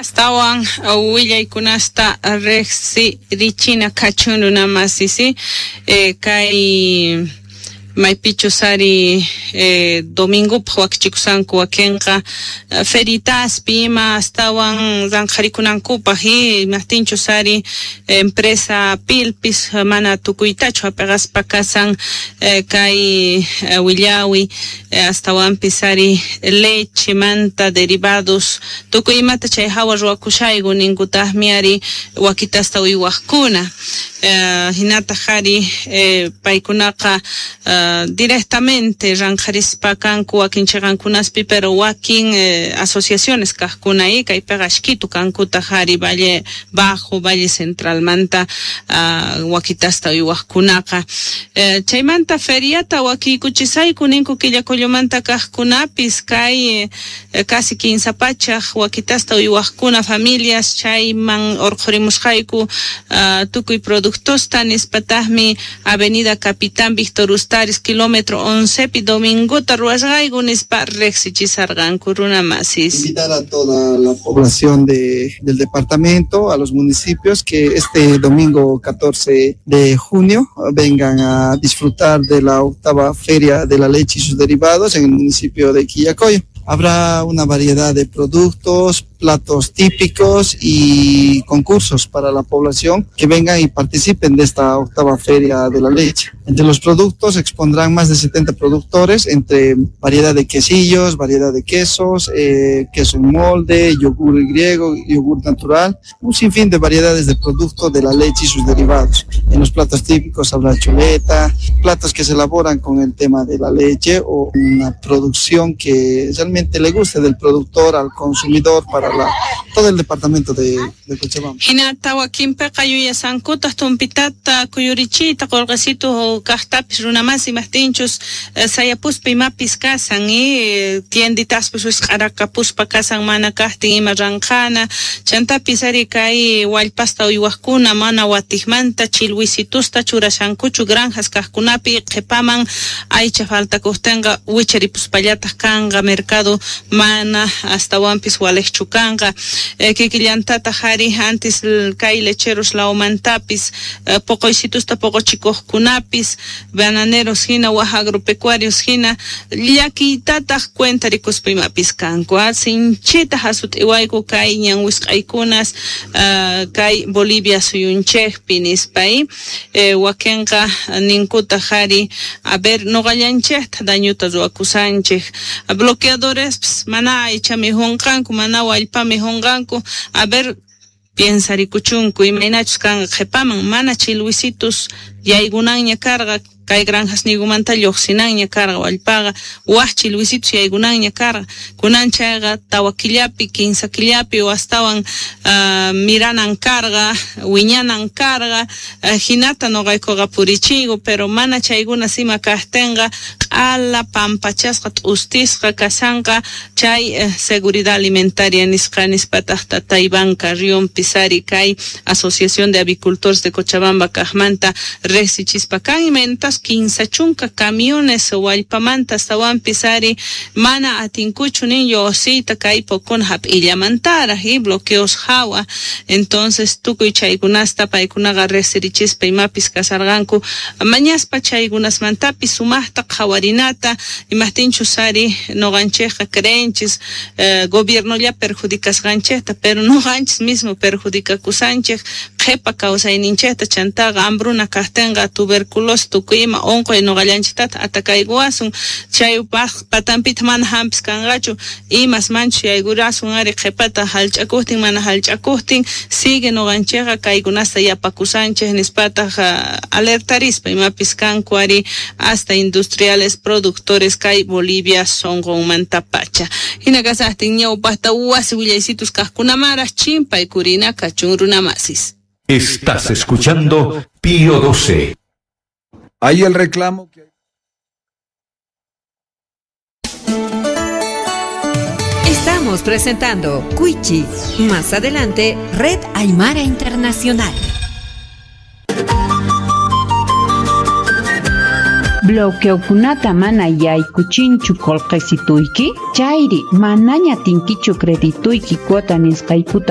Astawan willaykunasta riqsirichina kachun runamasisi kay maypichus ari domingopaj wakichikusanku wakinqa feritaspi ima astawan ranqharikunankupaj imajtinchus ari empresa Pilpis mana tukuytachu hap'iqaspa kasan kay willawi astawanpis ari lechemanta derivados tukuy imata chay hawa ruwakushayku ninkutaqmi ari wakitasta uywaqkuna hinataq ari paykunaqa directamente ranqharispa kanku wakin chiqankunaspi, pero wakin asociaciones kaqkuna kaypiqa ashkitu kankutaq ari Valle Bajo, Valle Centralmanta wakitasta uywaqkunaqa. Chaymanta feriata wakiykuchisayku ninku Quillacollomanta kaqkunapis kay casi 15 pachaj wakitasta uywaqkuna familias chayman urqhurimusqayku tukuy productosta nispataqmi Avenida Capitán Víctor Ustaris kilómetro 11 pi domingota ruwasqayku nispa riqsichisarqanku runamasis. Invitar a toda la población del departamento, a los municipios que este domingo 14 de junio vengan a disfrutar de la octava Feria de la Leche y sus derivados en el municipio de Quillacollo. Habrá una variedad de productos, platos típicos y concursos para la población que vengan y participen de esta octava Feria de la Leche. Entre los productos expondrán más de 70 productores, entre variedad de quesillos, variedad de quesos, queso en molde, yogur griego, yogur natural, un sinfín de variedades de productos de la leche y sus derivados. En los platos típicos habrá chuleta, platos que se elaboran con el tema de la leche o una producción que realmente le guste del productor al consumidor para todo el departamento de Cochabamba. Hinata wakinpiqa yuyasankutaq tumpitata kuyurichiyta qullqisitu kaqtapis runamasi imajtinchus sayapuspa imapis kasan tienditaspis wisq'arakapuspa kasan mana kaqtin ima ranqhana chantapis ari kay wallpasta uywaqkuna mana watiqmanta chilwisitusta churashankuchu granjas kaqkunapi qhipaman aycha faltakuqtinqa wicharipuspallataq kanqa mercado mana astawanpis waliqchu kanqa kikillantataq ari antes kay lecheros lawmantapis poqoysitusta poqochikuqkunapis bananeros hina waj agropecuarios hina llakiytataq cuenta rikuspa imapis kanku sinchita hasut'iwayku kay ñan wisq'aykunas kay Bolivia suyunchikpi nispa wakinqa ninkutaq ari a ver nuqallanchikta dañuta ruwakusanchik bloqueadores mana aycha mijunqanku mana wallpa mijunqanku a ver piensarikuchunku imaynachus kanqa qhipaman mana chilwisitus yaykunanña karqa kay granjas nigumanta lluqsinanña karqa wallpaqa waj chilwisitus yaykunanña karqa kunan chayqa tawa killapi 15 killapi o astawan miranan karqa wiñanan karqa hinata nuqaykuqa purichiyku pero mana chaykuna sima kaqtinqa q'ala pampachasqa t'ustisqa kasanqa chay seguridad alimentaria nisqa nispataq tata Iván Carrión Pisari kay Asociación de Avicultores de Cochabamba kaqmanta riqsichispa kan imaynatas 15 chunka camiones wallpamanta astawanpis ari mana atinkuchu nin lluqsiyta kay pokuna hap'illamantaraq y bloqueos hawa entonces tukuy chaykunasta paykunaqa riqsirichispa imapis kasarqanku mañaspa chaykunasmantapis sumaqta qhawarinata imajtinchus ari nuqanchikqa creenchis gobiernolla perjudicasqanchikta pero nuqanchis mismo perjudicakusanchik qhipa kawsayninchikta chantaqa hambruna kaqtinqa tuberculosis tukuy ima unquy nuqallanchiktata atakaykuwasun chaypaq patanpita mana hampis kanqachu imas manchus yaykurasun ari qhipata hallch'akuqtin mana hallch'akuqtin sigue nuqanchikqa kaykunasta yapakusanchik nispataq alertarispa imapis kanku ari hasta industriales productores kay Bolivia sunqunmantapacha hina kasaqtin ñawpaqta wasi willaysitus kaqkunamaraq chimpaykurina kachun runamasis. Estás escuchando Pío 12. Hay el reclamo que... Estamos presentando Cuichi. Más adelante, Red Aymara Internacional. Bloqueokunata mana yaykuchinchu qullqisituyki? Chayri manaña atinkichu credituyki cuota nisqaykuta.